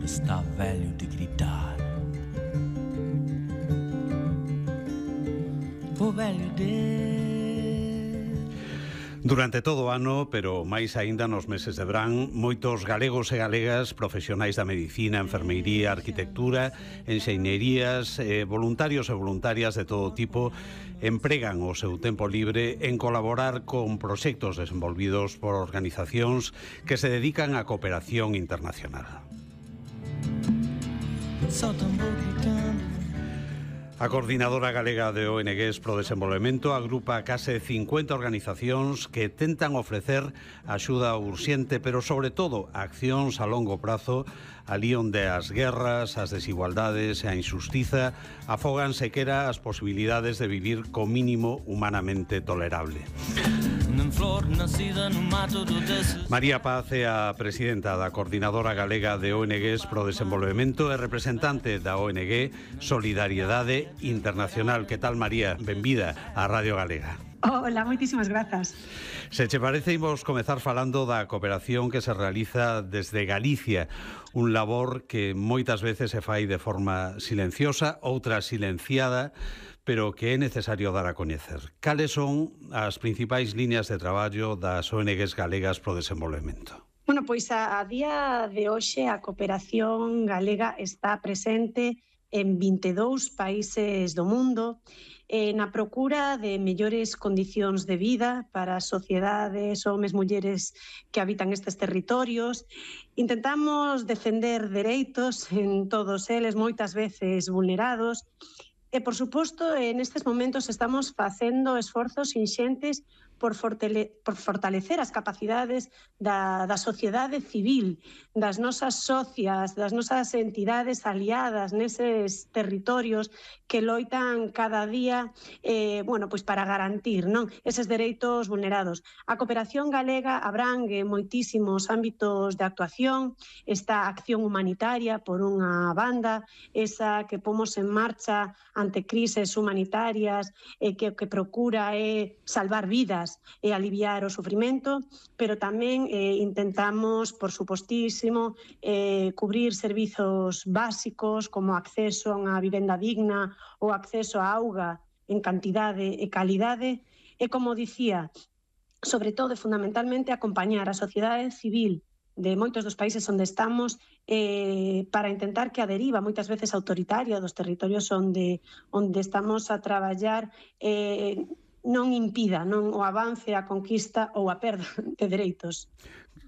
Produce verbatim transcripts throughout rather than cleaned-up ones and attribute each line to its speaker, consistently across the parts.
Speaker 1: está velho de gritar. O velho de...
Speaker 2: Durante todo o ano, pero máis aínda nos meses de verán, moitos galegos e galegas, profesionais da medicina, enfermeiría, arquitectura, enxeñerías, eh, voluntarios e voluntarias de todo tipo, empregan o seu tempo libre en colaborar con proxectos desenvolvidos por organizacións que se dedican á cooperación internacional. A Coordinadora Galega de O N Ges pro Desenvolvemento agrupa case cincuenta organizacións que tentan ofrecer axuda urxente, pero sobre todo accións a longo prazo, alí onde as guerras, as desigualdades e a injustiza afogan sequera as posibilidades de vivir co mínimo humanamente tolerable. María Paz é a presidenta da Coordinadora Galega de O N Ges pro Desenvolvemento e representante da O N G Solidariedade Internacional. Que tal, María? Benvida á Radio Galega.
Speaker 3: Hola, moitísimas grazas.
Speaker 2: Se che parece, imos comezar falando da cooperación que se realiza desde Galicia, un labor que moitas veces se fai de forma silenciosa, outra silenciada, pero que é necesario dar a coñecer. Cales son as principais liñas de traballo das O N Ges galegas pro desenvolvemento?
Speaker 3: Bueno, pois a, a día de hoxe a cooperación galega está presente en vinte e dous países do mundo, eh, na procura de mellores condicións de vida para as sociedades, homes, mulleres que habitan estes territorios. Intentamos defender dereitos en todos eles, moitas veces vulnerados. E, por suposto, en estes momentos estamos facendo esforzos inxentes por, fortale por fortalecer as capacidades da, da sociedade civil, das nosas socias, das nosas entidades aliadas neses territorios que loitan cada día eh, bueno, pois para garantir, non, eses dereitos vulnerados. A cooperación galega abrangue moitísimos ámbitos de actuación, esta acción humanitaria por unha banda, esa que pomos en marcha ante crises humanitarias, eh, que que procura é eh, salvar vidas e aliviar o sufrimento, pero tamén eh, intentamos, por supostísimo, eh, cubrir servizos básicos como acceso a unha vivenda digna ou acceso á auga en cantidade e calidade, e, como dicía, sobre todo e fundamentalmente acompañar a sociedade civil de moitos dos países onde estamos eh, para intentar que a deriva moitas veces autoritaria dos territorios onde, onde estamos a traballar eh, non impida non o avance, a conquista ou a perda de dereitos.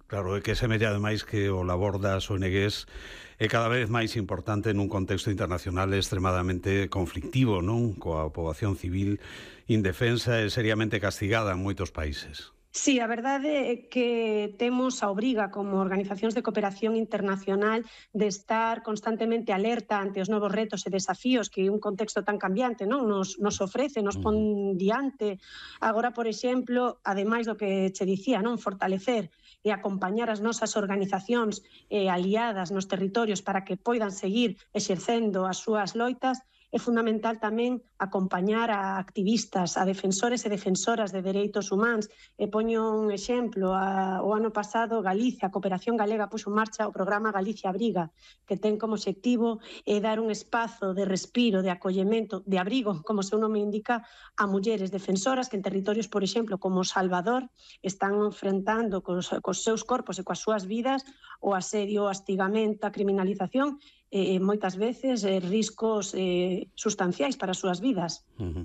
Speaker 2: Claro, é que semella ademais que o labor das O N Ges é cada vez máis importante nun contexto internacional extremadamente conflictivo, non? Coa poboación civil indefensa e seriamente castigada en moitos países.
Speaker 3: Sí, a verdade é que temos a obriga como organizacións de cooperación internacional de estar constantemente alerta ante os novos retos e desafíos que un contexto tan cambiante non nos, nos ofrece, nos pon diante. Agora, por exemplo, ademais do que che dicía, non, fortalecer e acompañar as nosas organizacións eh, aliadas nos territorios para que poidan seguir exercendo as súas loitas, é fundamental tamén acompañar a activistas, a defensores e defensoras de dereitos humanos. E poño un exemplo, a, o ano pasado Galicia, a Cooperación Galega, puxo en marcha o programa Galicia Abriga, que ten como obxectivo eh, dar un espazo de respiro, de acollemento, de abrigo, como o seu nome indica, a mulleres defensoras que en territorios, por exemplo, como Salvador, están enfrentando cos, cos seus corpos e coas súas vidas o asedio, o astigamento, a criminalización, e moitas veces eh, riscos eh, sustanciais para as súas vidas.
Speaker 2: Uh-huh.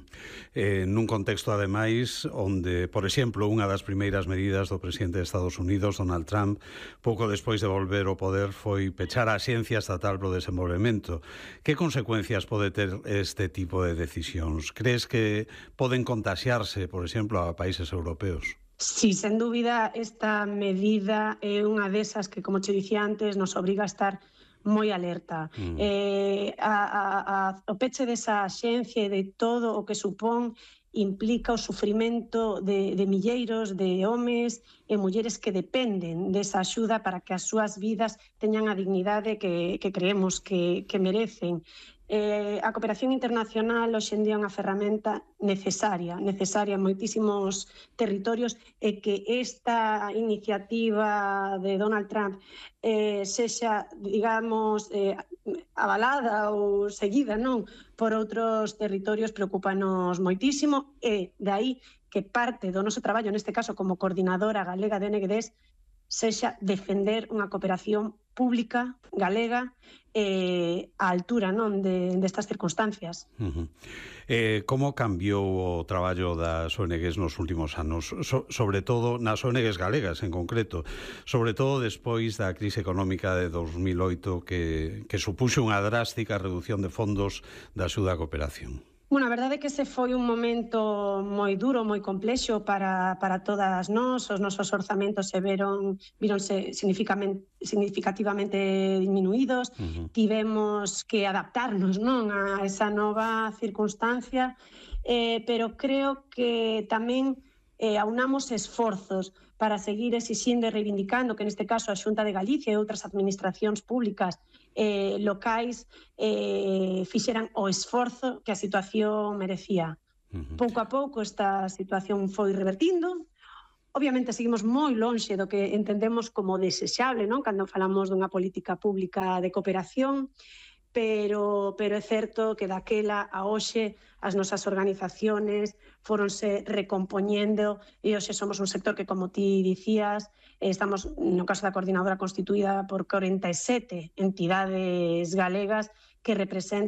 Speaker 2: eh, nun contexto, ademais, onde, por exemplo, unha das primeiras medidas do presidente de Estados Unidos, Donald Trump, pouco despois de volver ao poder, foi pechar a Axencia Estatal pro Desenvolvemento. Que consecuencias pode ter este tipo de decisións? Crees que poden contaxiarse, por exemplo, a países europeos?
Speaker 3: Sí, sen dúbida, esta medida é unha desas que, como che dicía antes, nos obriga a estar moi alerta. Mm. Eh, a, a, a, o peche desa axencia e de todo o que supón implica o sufrimento de, de milleiros de homes e mulleres que dependen desa axuda para que as súas vidas teñan a dignidade que, que creemos que, que merecen. Eh, a cooperación internacional hoxe en día é unha ferramenta necesaria, necesaria en moitísimos territorios, e que esta iniciativa de Donald Trump eh, sexa, digamos, eh, avalada ou seguida, non, por outros territorios preocupanos moitísimo, e de aí que parte do noso traballo, neste caso como coordinadora galega de O N G Ds, sexa defender unha cooperación pública galega eh, á altura, non, de, destas circunstancias.
Speaker 2: Uh-huh. Eh, como cambiou o traballo das O N Gs nos últimos anos, so, sobre todo nas O N Gs galegas en concreto, sobre todo despois da crise económica de dos mil oito que, que supuxo unha drástica reducción de fondos da axuda á cooperación?
Speaker 3: Bueno, a verdade é que ese foi un momento moi duro, moi complexo para, para todas nós. Os nosos orzamentos se veron, vironse significativamente diminuídos. Uh-huh. Tivemos que adaptarnos, non, a esa nova circunstancia, eh, pero creo que tamén eh, aunamos esforzos para seguir exixindo e reivindicando que neste caso a Xunta de Galicia e outras administracións públicas eh, locais eh, fixeran o esforzo que a situación merecía. Uh-huh. Pouco a pouco esta situación foi revertindo. Obviamente seguimos moi lonxe do que entendemos como desexable, non, cando falamos dunha política pública de cooperación, pero, pero é certo que daquela a hoxe as nosas organizaciones foronse recompoñendo e hoxe somos un sector que, como ti dicías, estamos, no caso da coordinadora, constituída por corenta e sete entidades galegas que representan